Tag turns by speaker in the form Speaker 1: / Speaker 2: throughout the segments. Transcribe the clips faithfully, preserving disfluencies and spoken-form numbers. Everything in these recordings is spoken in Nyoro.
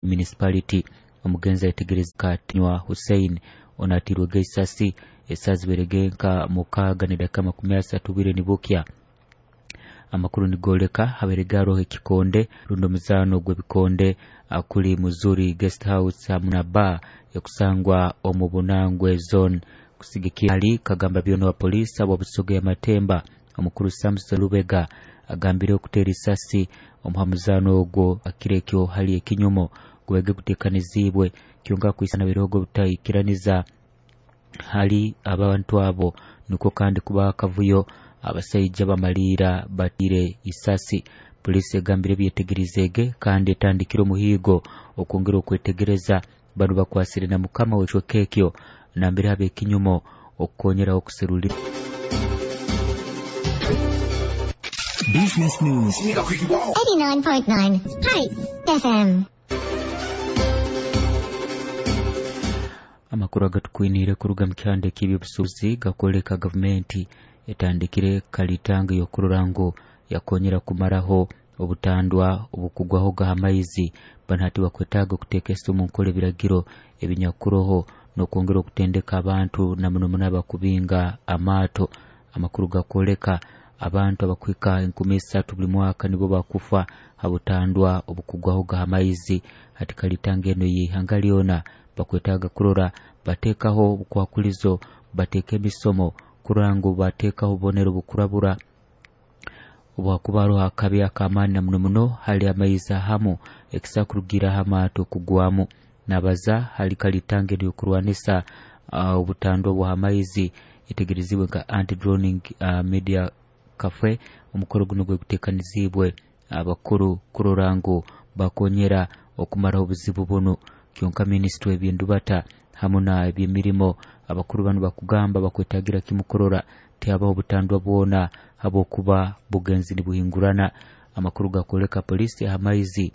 Speaker 1: Municipality. Omugenzi ayetegereza Katinywa Hussein onatirwege isasi esaziberege nka mukaaga nedakika makumi asatu bwire nibukya. Amakuru nigoleka haberege haroho ekikonde rundi omuzaano gw'ebikonde kuli Muzuri Guest House hamu na bar ekusangwa omu Bunangwe Zone. Kusigikira ali kagamba byona wa polisi abo Busoga ya Matemba omukuru Samson Lubega agambire okutera isasi omuhamuzano ogwo akirekyo hali ekinyumo gwege gutekanizibwe kyonka kwisana birogo butaikiraniza hali abantu abo niko kandi kuba akavuyo abasaija bamalira batire isasi. Polisi egambire byetegerizege kandi etandikire omuhigo okwongera okwetegereza bano bakwasire na mukama w'ekyo nambere habe ekinyumo okukonyera okuserulira.
Speaker 2: Business News
Speaker 3: eighty-nine point nine Hi F M.
Speaker 1: Amakuru agatukwinire kuruga mu kyanda eky'ebyobusuubuzi gakoleka gavumenti etandikire kalitanga y'okurora ngu yakonyera kumaraho obutandwa obukugwaho g'amaizi. Bano hati bakwetaaga okuteeka omu nkola ebiragiro ebinyakuroho n'okwongera okutendeka abantu na muno muno abakubinga amaato. Amakuru gakoleka abantu abakwika enkumi isatu buli mwaka nibo bakufa habutandwa obukugwaho g'amaizi. Hati kalitanga eno y'ihanga lyona bakwetaaga kurora bateekaho obukwakulizo, bateeka emisomo kurora ngu bateekaho obubonero bukurabura obwakuba haroho akabi ak'amaani na muno muno hali amaizi ahamu ekisa kurugira amaato kugwamu. Nabaza hali kalitanga eno y'okurwanisa uh, obutandwa bw'amaizi etegerezibwe nka anti-drowning uh, media cafe. Omukoro guno gwe gutekanizibwe abakuru kurora ngu bakonyera okumaraho obuzibu buno. Kyonka minisitule ebyendubata hamu na eby'emirimo abakuru bano bakugamba bakwetagira kimu kurora tihabaho obutandwa bwona habwokuba bugenzi nibuhingurana. Amakuru gakoleka polisi amaizi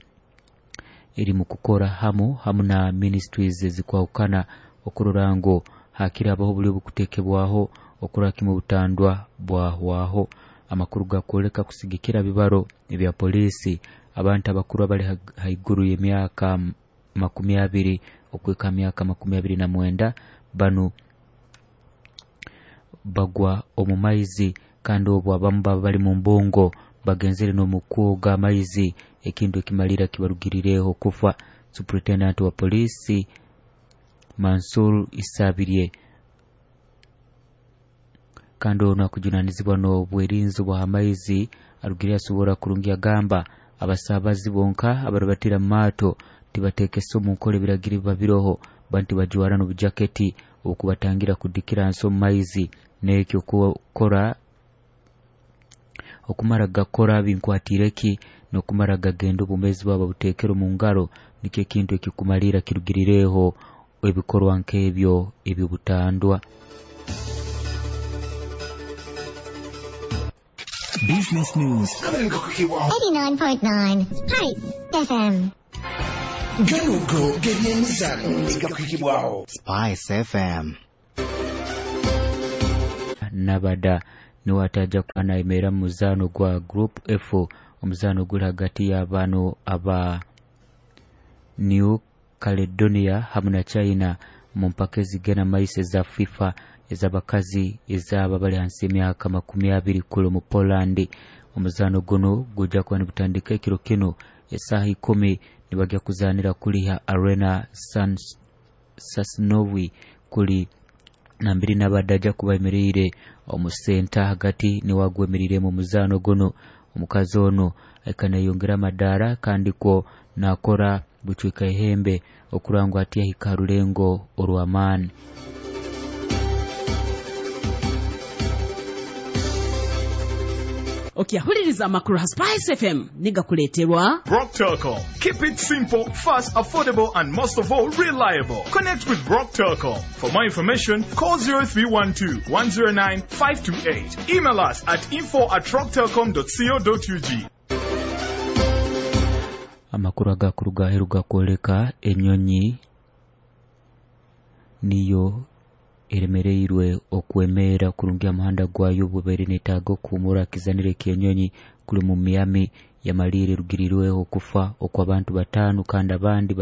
Speaker 1: eri mu kukora hamu hamu na ministries ezikwahukana okurora ngu hakiri habaho obuli obukuteekebwaho okurora kimu obutandwa bwahwaho. Amakuru gakoleka kusigikira bibaro ebya polisi abantu abakuru abali haiguru y'emyaka makumi abiri okwika myaka makumi abiri na mwenda bano bagwa omu maizi kandi obwo abamu baba bali mu mbungo bagenzere n'omukwoga amaizi ekintu ekimalira kibarugirireho kufa. Superintendent wa polisi Mansur Isabirye kandi ono akujunanizibwa n'obwerinzi bw'amaizi arugire asobora kurungi agamba abasabazi bonka abarubatira mu maato tibateekesa omu nkola ebiragiro biba biroho banti bajwara n'obujaketi obukubatangira kudikira nsi omu maizi n'ekyo kukora okumara gakora binkwatiireki n'okumara gagenda obumezi bwabo babuteekere omu ngaro nikyo ekintu ekikumalira kirugirireho ebikorwa nk'ebyo eby'obutandwa.
Speaker 2: Business News
Speaker 3: eighty-nine point nine Hi F M.
Speaker 4: Ganugo g'ebyemizano gakwikibwaho
Speaker 5: Spice F M.
Speaker 1: Nabada niwe ataja anaemera mu muzaano gwa Group F, omuzaano guli hagati y'abano aba New Caledonia hamu na China mu mpaka ezigenda maiso eza FIFA ez'abakazi ez'aba bali hansi y'emyaka makumi abiri kule mu Poland. Omuzaano guno gujja kuba nigutandika ekiro kino esaaha ikumi nibajja kuzaanira kuliha Arena San Sasnowi kuli nambiri n'abadde kuba omu senta hagati niwagwemerire mu muzaano guno. Omukazi ono akanayongera amadaara kandi kwo nakora bucwika ehembe okurangwa ati yahika rulengo orw'amaani.
Speaker 6: Okyahuliriza amakuru ha Spice F M nigakuleeterwa
Speaker 7: Brock Telcom. Keep it simple, fast, affordable and most of all reliable. Connect with Brock Telcom. For more information, call zero three one two, one zero nine, five two eight. Email us at info at rocktelcom dot co dot U G.
Speaker 1: Amakuru agakuru gaheru gakwoleka enyonyi niyo eremereirwe okwemera kurungi amuhanda gwayo bubeere netaaga okuhumura kizanire ky'enyonyi kuli mu Miami yamalire rugirirweho okufa okw'abantu bataano kandi abandi